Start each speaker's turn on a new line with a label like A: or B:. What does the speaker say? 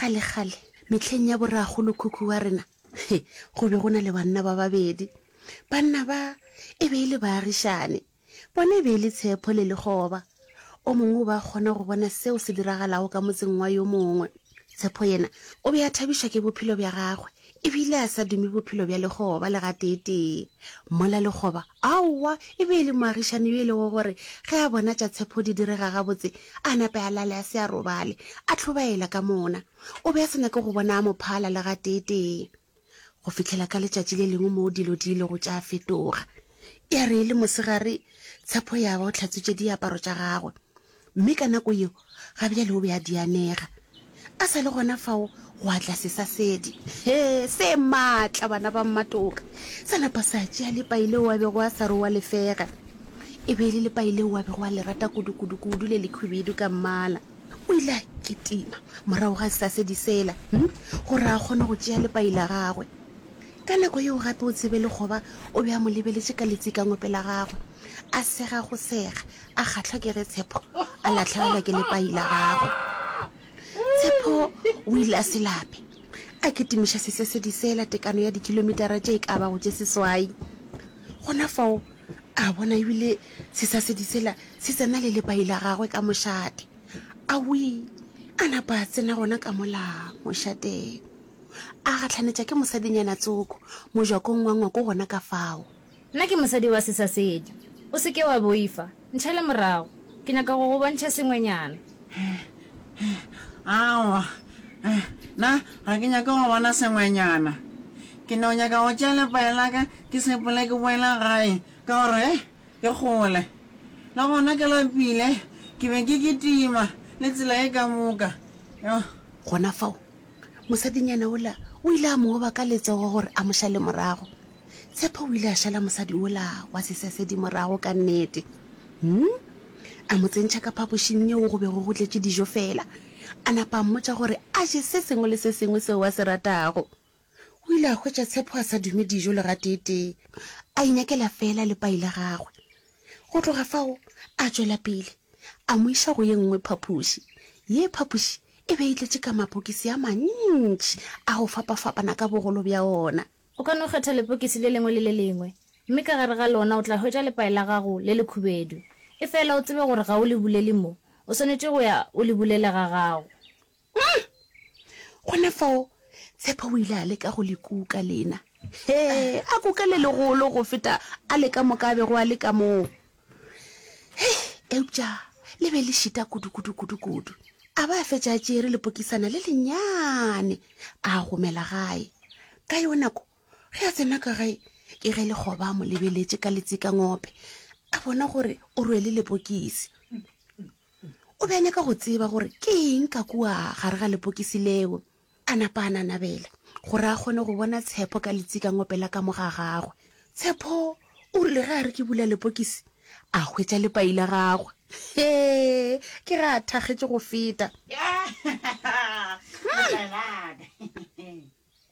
A: Kgalekgale, mehleng ya borakgolokhukhu wa rena, he, go be go na le banna ba babedi. Banna ba e be e le baagišane. Bona e be e le Tshepo le Lekgoba. O mongwe o be a kgona go bona seo se diragalago ka motseng wa yo mongwe. Tshepo yena o be a thabišwa ke bophelo bja gagwe e bile a sa dume bophelo bja lekgoba le gateetee. Mola lekgoba, aowa, e be e le moagišani yo e lego gore ge a bona tša Tshepo di direga gabotse, a nape a lale a se a robale, a hlobaela ka mona. O be a sa nyake go bona a mo phala le gateetee. Go fihlela ka letšatši le lengwe moo dilo di ilego tša fetoga. Ya re e le mosegare, Tshepo ya ba o hlatswitše diaparo tša gagwe. Mme ka nako yeo, ga bjale o be a di anega. A sa le gona fao, gwa tla sesasedi. He, se maatla, bana ba mmatoka! Sa napa sa tšea lepai leo a bego a sa re o a le fega. E be e le lepai leo a bego a le rata kudu-kudu-kudu le lekhwibidu ka mmala. O ile a kitima morago ga sesasedi sela, hm, gore a kgone go tšea lepai la gagwe. Ka nako yeo gape o tsebe lekgoba o be a mo lebeletše ka letsikangope la gagwe, a sega go sega, a kgahlwa ke ge Tshepo a lahlegelwa ke lepai la gagwe. Tshepo o ile a se lape, a kitimiša sesesedi sela tekano ya dikilometara tše e ka bago tše seswai. Gona fao a bona ebile sesasedi sela se tsena le lepai la gagwe ka mošate. Awii, a napa a tsena gona ka mola mošateng. A gahlanetša ke mosadinyana tsoko mojakong wa ngwako gona ka fao.
B: Nna ke mosadi wa sesasedi. O se ke wa boifa. Ntšhale morago. Ke nyaka go go bontšha sengwenyana.
C: Aowa, nna ga ke nyake go bona sengwenyana. Ke no nyaka go tšea lepae la ka ke sepele ke boele gae ka gore ke kgole. Le gona ke lapile, ke be ke kitima le tsela ye ka moka. Yo.
A: Gona fao, mosadinyana wola o ile a mo oba ka letsogo gore a mo šale morago. Tshepo o ile a šala mosadi wola wa sesesedi morago ka nnete. Hm? A mo tsentšha ka phapošing yeo go bego go tletše dijo feela. A napa a mmotša gore a je se sengwe le se sengwe seo a se ratago. O ile a hwetša Tshepo a sa dume dijo le gateetee, a inyakela feela lepai la gagwe. Go tloga fao a tšwela pele, a mo iša go ye nngwe phapoši. Ye phapoši e be e tletše ka mapokisi a mantši a go fapafapana ka bogolo bja ona.
B: O ka no kgetha lepokisi le lengwe le le lengwe, mme ka gare ga lona o tla hwetša lepai la gago le lekhubedu. Efela o tsebe gore ga o le bulele mo, o swanetše go ya o le bulele ga gago.
A: Umm! Gona fao, Tshepo o ile a leka go le kuka lena. Hee, a kuka le legolo go feta a le ka moka a bego a le ka moo. Hei, eupša le be le šita kudu-kudu-kudu-kudu. A ba a fetša a tšeere lepokisana le lennyane a gomela gae. Ka yeo nako, ge a tsena ka gae, ke ge lekgoba a mo lebeletše ka letsikangope, a bona gore o rwele lepokisi. O be a nyaka go tseba gore ke eng ka kua gare ga lepokisi leo. A napa a nanabela gore a kgone go bona Tshepo ka letsikangope la ka mo ga gagwe. Tshepo o rile ge a re ke bula lepokisi, a hwetša lepai la gagwe. Hee, ke ge a thakgetše go feta.
C: Lepai la ka.